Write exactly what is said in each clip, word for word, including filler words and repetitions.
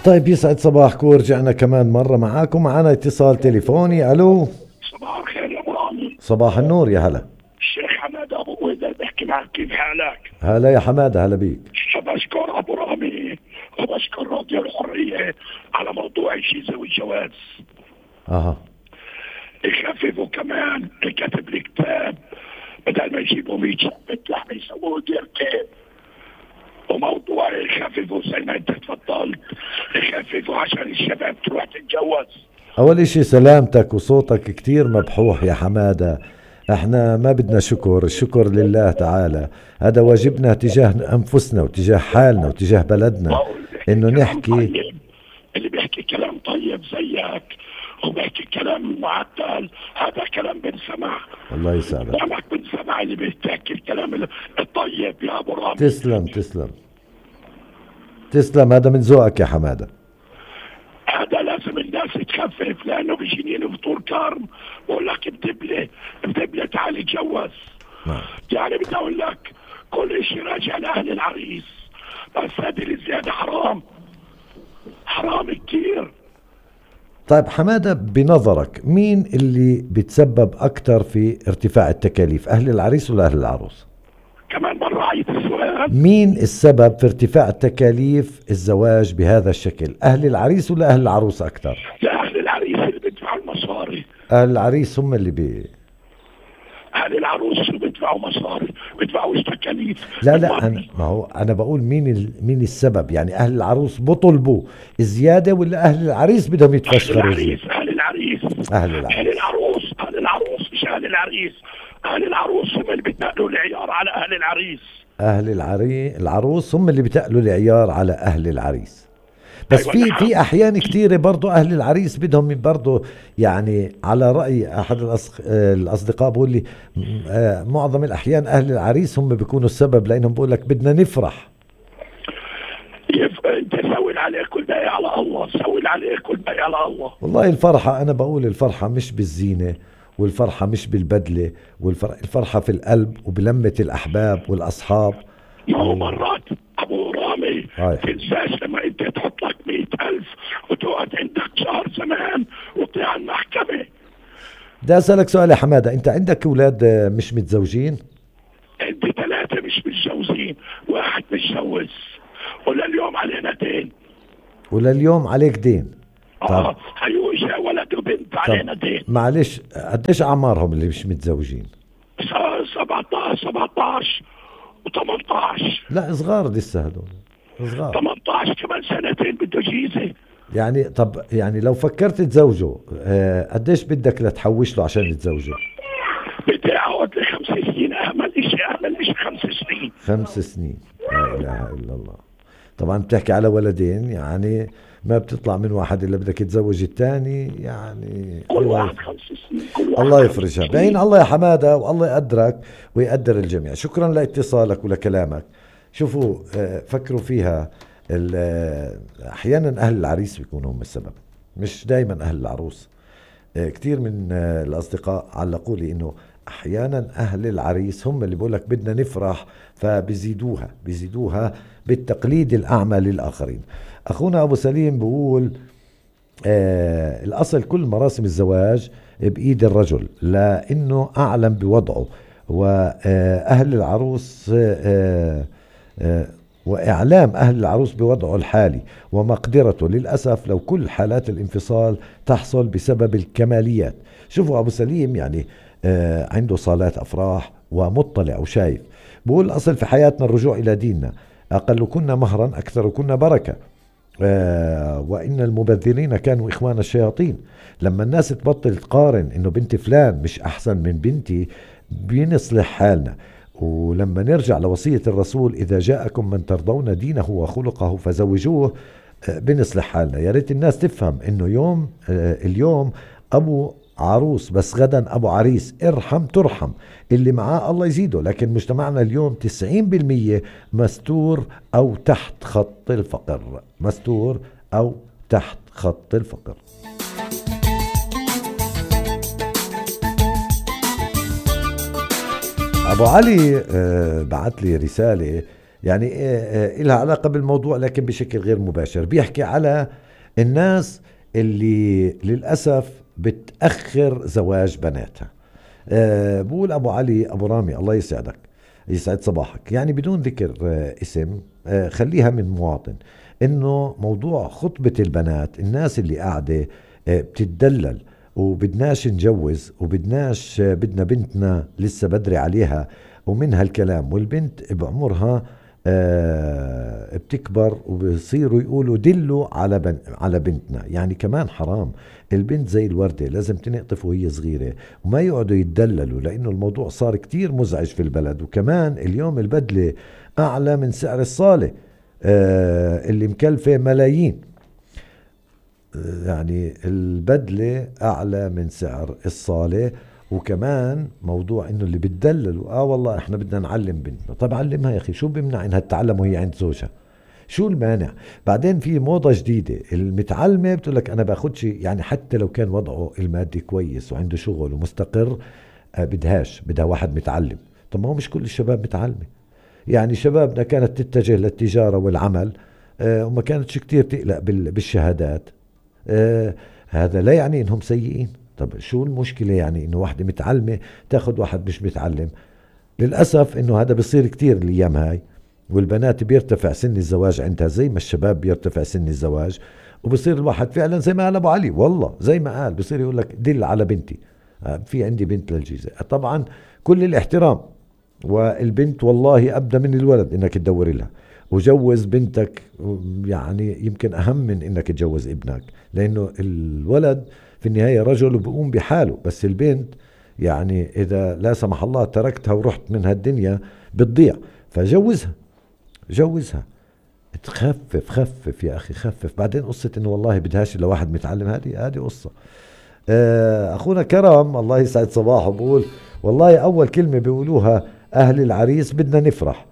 طيب يسعد صباحكم، ورجعنا كمان مرة معاكم. معنا اتصال تليفوني. ألو، صباح الخير يا ابو رامي. صباح النور، يا هلا. الشيخ حماد ابو ويدر بحكي معك، كيف حالك؟ هلا يا حمادة، هلا بيك. بشكر ابو رامي وبشكر راديو الحرية على موضوع الجيزة والجواز. اها، يخففوا كمان، كتب لي كتاب بدل ما يجيبوا مية شقة لحمة يسووا ديرتين. وموضوع يخففوا زي ما انت تفضلت، يخففوا عشان الشباب تروح تتجوز. أول إشي سلامتك وصوتك كتير مبحوح يا حمادة. احنا ما بدنا شكر، الشكر لله تعالى. هذا واجبنا تجاه أنفسنا وتجاه حالنا وتجاه بلدنا، إنه نحكي. طيب. اللي بيحكي كلام طيب زيك وبيحكي كلام معدل، هذا كلام بنسمع. الله يسعدك. كلامك بنسمع اللي بيحكي الكلام الطيب يا ابو رامي. تسلم تسلم تسلم، هذا من ذوقك يا حمادة. هذا لازم الناس تخفف، لانه بيجيني فطور كارم بقول لك بدبله بدبله تعال اتجوز. نعم. يعني بدي اقول لك كل شيء راجع لاهل العريس، بس هذه الزياده حرام، حرام كتير. طيب حمادة، بنظرك مين اللي بتسبب أكتر في ارتفاع التكاليف، أهل العريس ولا أهل العروس؟ كمان مرة عيد السؤال. مين السبب في ارتفاع تكاليف الزواج بهذا الشكل، أهل العريس ولا أهل العروس أكتر؟ لا، أهل العريس اللي بيدفعوا المصاري. أهل العريس هم اللي بي أهل العروس اللي بيدفعوا مصاري، بيدفعوا تكاليف. لا لا أنا ما هو أنا بقول مين ال... مين السبب، يعني أهل العروس بطلبوا زيادة ولا أهل العريس بدهم يتفشخروا؟ أهل العريس أهل العريس أهل العريس أهل العروس أهل العروس مش أهل العريس. أهل العروس هم اللي بيتنقلوا العيار على أهل العريس. أهل العري... العروس هم اللي بتقلوا العيار على أهل العريس. بس في في أحيان كتيرة برضو أهل العريس بدهم برضو، يعني على رأي أحد الأص... الأصدقاء بقول لي معظم الأحيان أهل العريس هم بيكونوا السبب، لأنهم بقول لك بدنا نفرح. يف... انت سوي عليك كل باقي على الله، سوي عليك كل باقي على الله. والله الفرحة، أنا بقول الفرحة مش بالزينة، والفرحة مش بالبدلة، والفرحة في القلب وبلمة الأحباب والأصحاب. ما هو مرات أبو رامي تنساش لما أنت تحط لك مئة ألف وتقعد عندك شهر زمان وتطلع المحكمة. بدي أسألك سؤال يا حمادة، أنت عندك أولاد مش متزوجين؟ عندي ثلاثة مش متجوزين، واحد متجوز، ولليوم علينا دين. ولليوم عليك دين؟ اه هيوجه ولد وبنت علينا دين. معلش، قديش أعمارهم اللي مش متزوجين؟ سبعتاشر سبعتاشر وثمانتاشر. لا صغار لسه هدول، صغار. ثمانتاشر كمان سنتين بده جيزة. يعني طب يعني لو فكرت تزوجه آه قديش بدك لتحوش له عشان تزوجه؟ بدي اقعد لي خمس سنين، اعمل اشي اعمل اشي خمس سنين. خمس سنين، لا اله الا الله. طبعا بتحكي على ولدين، يعني ما بتطلع من واحد الا بدك تزوج الثاني، يعني كل واحد خمس سنين، كل واحد الله يفرجها بعين الله يا حمادة، والله يقدرك ويقدر الجميع. شكرا لاتصالك ولكلامك. شوفوا فكروا فيها، احيانا اهل العريس بيكونوا هم السبب، مش دايما اهل العروس. كتير من الاصدقاء علقوا لي انه احيانا اهل العريس هم اللي بيقولك بدنا نفرح، فبيزيدوها بيزيدوها بالتقليد الاعمى للاخرين. اخونا ابو سليم بيقول آه الاصل كل مراسم الزواج بايد الرجل لانه اعلم بوضعه، واهل العروس آه آه وإعلام أهل العروس بوضعه الحالي ومقدرته. للأسف لو كل حالات الانفصال تحصل بسبب الكماليات. شوفوا أبو سليم يعني آه عنده صالات أفراح ومطلع وشايف. بقول أصل في حياتنا الرجوع إلى ديننا، أقل كنا مهرا أكثر كنا بركة، آه وإن المبذرين كانوا إخوان الشياطين. لما الناس تبطل تقارن إنه بنت فلان مش أحسن من بنتي بنصلح حالنا. ولما نرجع لوصية الرسول إذا جاءكم من ترضون دينه وخلقه فزوجوه بنصلح حالنا. يا ريت الناس تفهم إنه يوم اليوم أبو عروس بس غدا أبو عريس، ارحم ترحم، اللي معاه الله يزيده. لكن مجتمعنا اليوم تسعين بالمية مستور أو تحت خط الفقر، مستور أو تحت خط الفقر. أبو علي بعت لي رسالة يعني إلها علاقة بالموضوع لكن بشكل غير مباشر. بيحكي على الناس اللي للأسف بتأخر زواج بناتها. أه بقول أبو علي أبو رامي الله يسعدك يسعد صباحك، يعني بدون ذكر أه اسم أه خليها من مواطن، إنه موضوع خطبة البنات الناس اللي قاعدة أه بتتدلل وبدناش نجوز وبدناش أه بدنا بنتنا لسه بدري عليها ومن هالكلام، والبنت بعمرها آه بتكبر وبصيروا يقولوا دلوا على بن على بنتنا. يعني كمان حرام، البنت زي الوردة لازم تنقطف وهي صغيرة وما يقعدوا يتدللوا، لأنه الموضوع صار كتير مزعج في البلد. وكمان اليوم البدلة أعلى من سعر الصالة آه اللي مكلفة ملايين، يعني البدلة أعلى من سعر الصالة. وكمان موضوع انه اللي بتدللوا اه والله احنا بدنا نعلم بنتنا. طب علمها يا اخي، شو بيمنع انها تتعلم وهي عند زوجها؟ شو المانع؟ بعدين في موضة جديدة، المتعلمة بتقول لك انا باخدش، يعني حتى لو كان وضعه المادي كويس وعنده شغل ومستقر آه بدهاش، بدها واحد متعلم. طب ما هو مش كل الشباب متعلمة، يعني شبابنا كانت تتجه للتجارة والعمل آه وما كانتش كتير تقلق بالشهادات. آه هذا لا يعني انهم سيئين. طب شو المشكلة يعني انه واحدة متعلمة تاخد واحد مش متعلم؟ للأسف انه هذا بيصير كتير الايام هاي، والبنات بيرتفع سن الزواج عندها زي ما الشباب بيرتفع سن الزواج، وبصير الواحد فعلا زي ما قال ابو علي، والله زي ما قال بصير يقول لك دل على بنتي، في عندي بنت للجيزة. طبعا كل الاحترام، والبنت والله ابدا من الولد انك تدور لها، وجوز بنتك يعني يمكن اهم من انك تجوز ابنك، لانه الولد في النهاية رجل وبقوم بحاله، بس البنت يعني إذا لا سمح الله تركتها ورحت من هالدنيا بتضيع. فجوزها جوزها تخفف خفف يا أخي خفف. بعدين قصة إنه والله بدهاش إلا واحد متعلم، هذه هذه قصة. أخونا كرم الله يسعد صباحه بقول والله أول كلمة بيقولوها أهل العريس بدنا نفرح،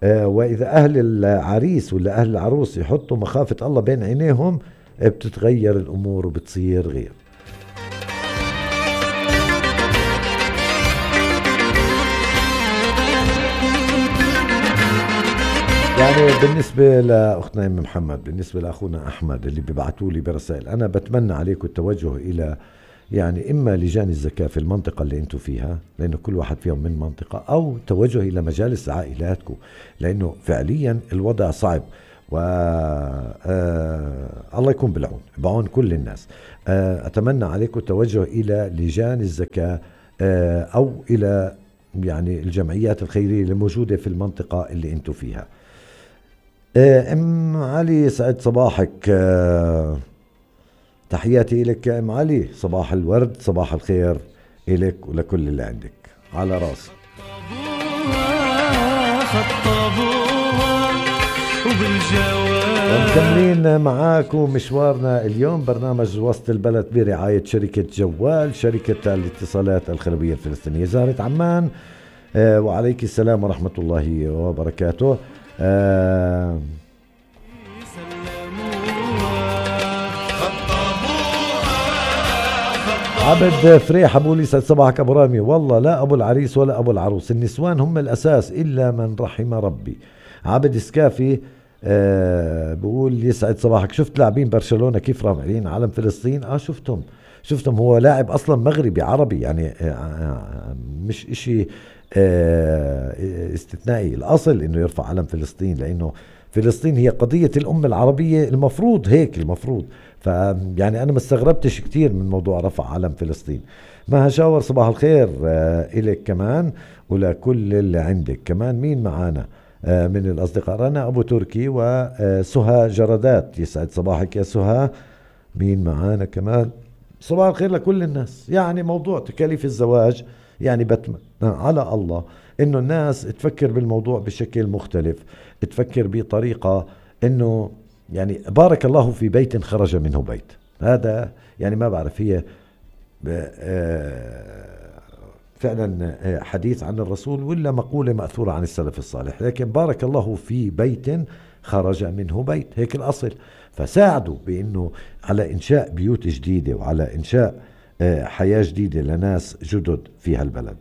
وإذا أهل العريس ولا أهل العروس يحطوا مخافة الله بين عينيهم بتتغير الأمور وبتصير غير. يعني بالنسبة لأختنا أم محمد، بالنسبة لأخونا أحمد اللي بيبعتوا لي برسائل، أنا بتمنى عليكم التوجه إلى يعني إما لجان الزكاة في المنطقة اللي أنتم فيها، لأنه كل واحد فيهم من منطقة، أو توجه إلى مجالس عائلاتكم، لأنه فعليا الوضع صعب. و آه الله يكون بالعون، بعون كل الناس. آه أتمنى عليكم التوجه إلى لجان الزكاة آه أو إلى يعني الجمعيات الخيرية اللي موجودة في المنطقة اللي أنتم فيها. آه أم علي سعد صباحك، آه تحياتي لك يا أم علي، صباح الورد صباح الخير إلك ولكل اللي عندك على راسي. ومكملين معاكم مشوارنا اليوم، برنامج وسط البلد برعاية شركة جوال، شركة الاتصالات الخلوية الفلسطينية، زهرة عمان. آه وعليك السلام ورحمة الله وبركاته. آه عبد فريح أبو لي صباحك أبو رامي، والله لا أبو العريس ولا أبو العروس، النسوان هم الأساس إلا من رحم ربي. عبد سكافي آه بقول يسعد صباحك، شفت لاعبين برشلونة كيف رافعين علم فلسطين؟ آه شفتهم شفتهم هو لاعب أصلا مغربي عربي، يعني آه مش إشي آه استثنائي، الأصل إنه يرفع علم فلسطين، لأنه فلسطين هي قضية الأمة العربية، المفروض هيك المفروض. فيعني أنا ما استغربتش كتير من موضوع رفع علم فلسطين. ما هشاور صباح الخير آه إليك كمان ولكل اللي عندك. كمان مين معانا آه من الأصدقاء؟ رنا أبو تركي وسهى جردات، يسعد صباحك يا سهى. مين معانا كمان؟ صباح الخير لكل الناس. يعني موضوع تكاليف الزواج، يعني بتمنى على الله إنه الناس تفكر بالموضوع بشكل مختلف، تفكر بطريقة إنه يعني بارك الله في بيت خرج منه بيت. هذا يعني ما بعرف هي فعلا حديث عن الرسول ولا مقولة مأثورة عن السلف الصالح، لكن بارك الله في بيت خرج منه بيت، هيك الأصل. فساعدوا بأنه على إنشاء بيوت جديدة وعلى إنشاء حياة جديدة لناس جدد في هالبلد.